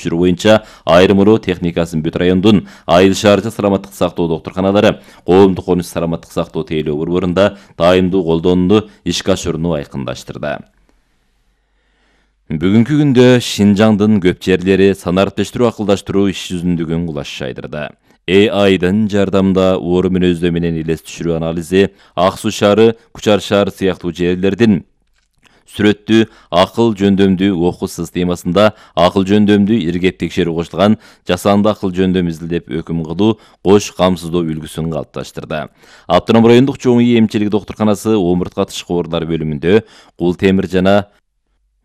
түшүрүү боюнча айрымыроо техникасын бүт райондун Айыл шаарча саламаттык сактоо доктурканалары коомдук конуш саламаттык сактоо тейлөө борборунда дайымдуу колдонууну ишке ашырууну айкындаштырды. Бүгүнкү күндө Шинжаңдын көп жерлери санариптештирүү акылдаштыруу иш жүзүндүгүн кулаш жайдырды. AI'дын жардамында оору мүнөздөө менен элес түшүрүү анализи Ак Суу шаары, Кучар шаары сыяктуу жерлердин сүрөттүү акыл жөндөмдүү окуу системасында акыл жөндөмдүү иргеп текшерүү кошулган жасанды акыл жөндөм изилдеп өкүм кылуу кош камсыздоо үлгүсүн калыпташтырды. Автоном райондук чоң үй эмчилик доктурканасы омуртка тышкы оорулар бөлүмүндө кул темир жана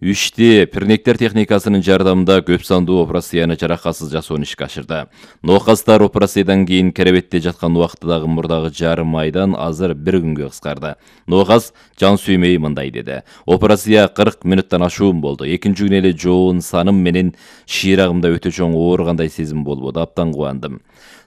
Үшти пернектер техникасынын жардамында көп сандуу операцияны жаракатсыз жасоону ишке ашырды. Нокастар операциядан кийин керебетте жаткан убактыдагы мурдагы жарым айдан азыр 1 күнгө кыскарды. Нокас жан сүймөй мындай деди. Операция 40 мүнөттөн ашуун болду. Экинчи күнү эле жоон саным менен шыйрагымда өтө чоң ооругандай сезим болбоду. Абдан кубандым.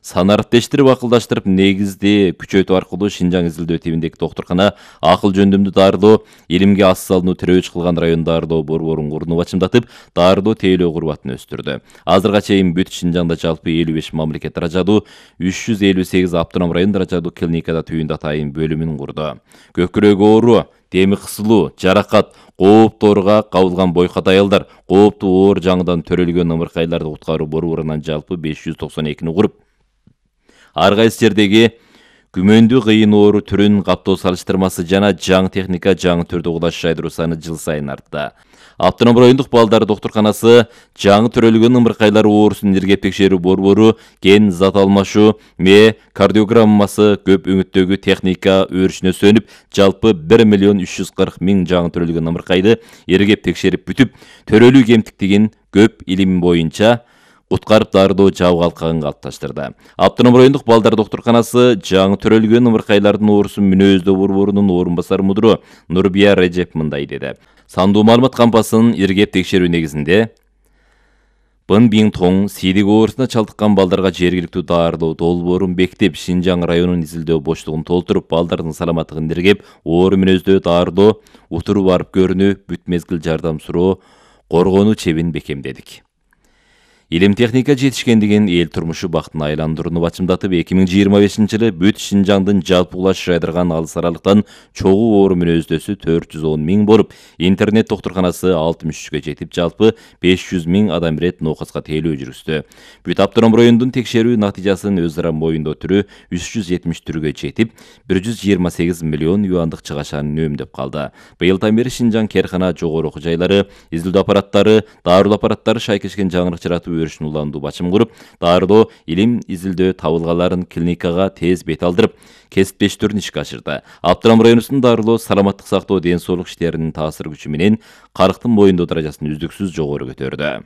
Санариптештирип акылдаштырып негизди күчөтүү аркылуу Шинжаң изилдөө тибиндеги доктуркана акыл жөндөмдүү дарылоо, илимге аз салынуу тирөөч кылган район дарылоо борборун курууну бачымдатып, дарылоо тейлөө курбатын өстүрдү. Азырга чейин бүт Шинжаңда жалпы 55 мамлекет даражадуу 358 автоном район даражадуу клиникада түйүн атайын бөлүмүн курду. Көкүрөк оору, деми кысылуу, жаракат, кооптуу ооруга кабылган бойкат аялдар, кооптуу оор жаңыдан төрөлгөн ымыркайларды куткаруу борборунан жалпы 592 куруп, ар кайсы жердеги күмөндүү кыйын оору түрүн каптоо салыштырмасы жана жаңы техника жаңы түрдө кулаш жайдыруу саны жыл сайын артты. Автоном райондук балдар доктурканасы жаңы төрөлгөн ымыркайлар оорусун иргеп текшерүү борбору ген зат алмашуу, кардиограммасы көп үмүттөгү техника өрүшүнө сөнүп, жалпы 1 340 000 жаңы төрөлгөн ымыркайды иргеп текшерип бүтүп, төрөлүү кемтиктигин көп илим боюнча куткарып дарылоо жабык алкагын калыпташтырды. Автоном райондук балдар доктурканасы жаңы төрөлгөн ымыркайлардын оорусун мүнөздөө борборунун орун басар мудру Нурбия Режеп мындай деди. Сандуу маалымат кампасынын иргеп текшерүү негизинде Бын-Биң-Тоң сийдик оорусуна чалдыккан балдарга жергиликтүү дарылоо долбоорун бекитип, Шинжаң районунун изилдөө боштугун толтуруп, балдардын саламаттыгын иргеп, оору мүнөздөө дарылоо, утуруп барып көрүнүү, бүт мезгил жардам суроо, коргонуу чебин бекемдедик. Илим техника жетишкендигин эл турмушу бактын айландырууну бачымдатып, 2025-жылы бүт Шинжаңдын жалпы кулаш жайдырган алыс аралыктан чогуу оору мүнөздөсү 410 000 болуп, интернет доктурканасы 63-кө жетип, жалпы 500 000 адам ирет нокаска тейлөө жүргүздү. Бүт автоном райондун текшерүү натыйжасын өз ара моюндоо түрү 374-гө жетип, 128 миллион юандык чыгашаны үнөмдөп калды. Быйылдан бери Шинжаң керкана, жогору окуу жайлары, изилдөө аппараттары, дарылоо аппараттары шайкешкен жаңырык жаратып өрүшүн уландуу бачым куруп, дарылоо, илим изилдөө табылгаларын клиникага тез бет алдырып, кесиптештирүүнү ишке ашырды. Автоном районунун дарылоо, саламаттык сактоо, ден соолук иштеринин таасир күчү менен карыктын моюндоо даражасын үздүксүз жогору көтөрдү.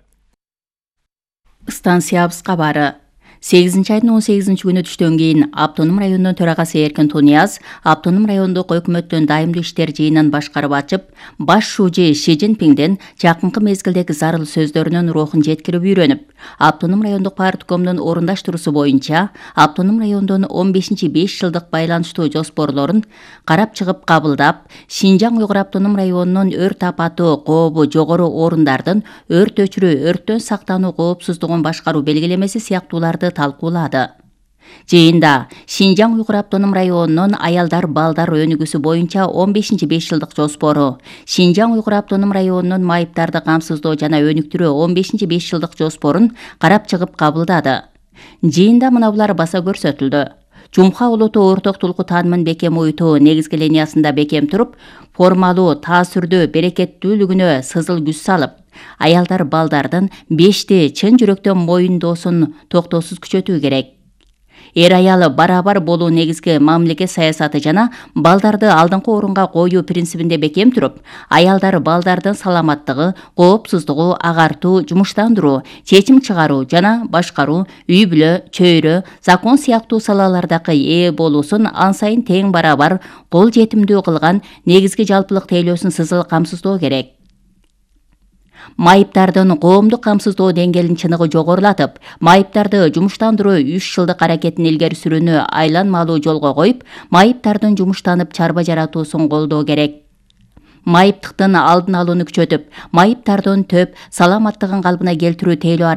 Станциябыз кабары. 8-айдын 18-күнү түштөн кийин автоном районунун төрагасы Эркин Тунияз автоном райондук өкмөттүн дайымдуу иштер жыйынын башкарып ачып, баш шужи Ши Цзиньпинден жакынкы мезгилдеги зарыл сөздөрүнүн рухун жеткирип үйрөнүп, автоном райондук парткомдун орундаштыруусу боюнча автоном райондун 15-5 жылдык байланыштуу жоспорлорун карап чыгып кабылдап, Шинжаң Уйгур автоном районунун өрт апаты кообу жогору орундардын өрт өчүрүү, өрттөн сактануу коопсуздугун башкаруу белгилемеси сыяктууларды талкуулады. Жыйында Шинжаң Уйгур автоном районунун аялдар балдар өнүгүүсү боюнча 15-5 жылдык жоспору, Шинжаң Уйгур автоном районунун майыптарды камсыздоо жана өнүктүрүү 15-5 жылдык жоспорун карап чыгып кабылдады. Жыйында мына булар баса көрсөтүлдү. Жумха улуту орток тулку таанымын бекем уютуу негизги линиясында бекем туруп, формалуу, таасирдүү, берекеттүүлүгүнө сызыл күч салып, аялдар балдардын бешти чын жүрөктөн моюндоосун токтоосуз күчөтүү керек. Эр-аялы барабар болуу негизги мамлекет саясаты жана балдарды алдыңкы орунга коюу принцибинде бекем туруп, аялдар балдардын саламаттыгы, коопсуздугу, агартуу, жумуштандыруу, чечим чыгаруу жана башкаруу, үй-бүлө, чөйрө, закон сыяктуу салалардагы ээ болуусун ан сайын тең барабар кол жетимдүү кылган негизги жалпылык тейлөөсүн сызыл камсыздоо керек. Майыптардын коомдук камсыздоо деңгээлин чыныгы жогорулатып, майыптарды жумуштандыруу 3 жылдык аракетин илгери сүрүүнү айланмалуу жолго коюп, майыптардын жумуштанып чарба жаратуусун колдоо керек. Майыптыктын алдын алууну күчөтүп, майыптардын төп саламаттыгын калыбына келтирүү тейлөө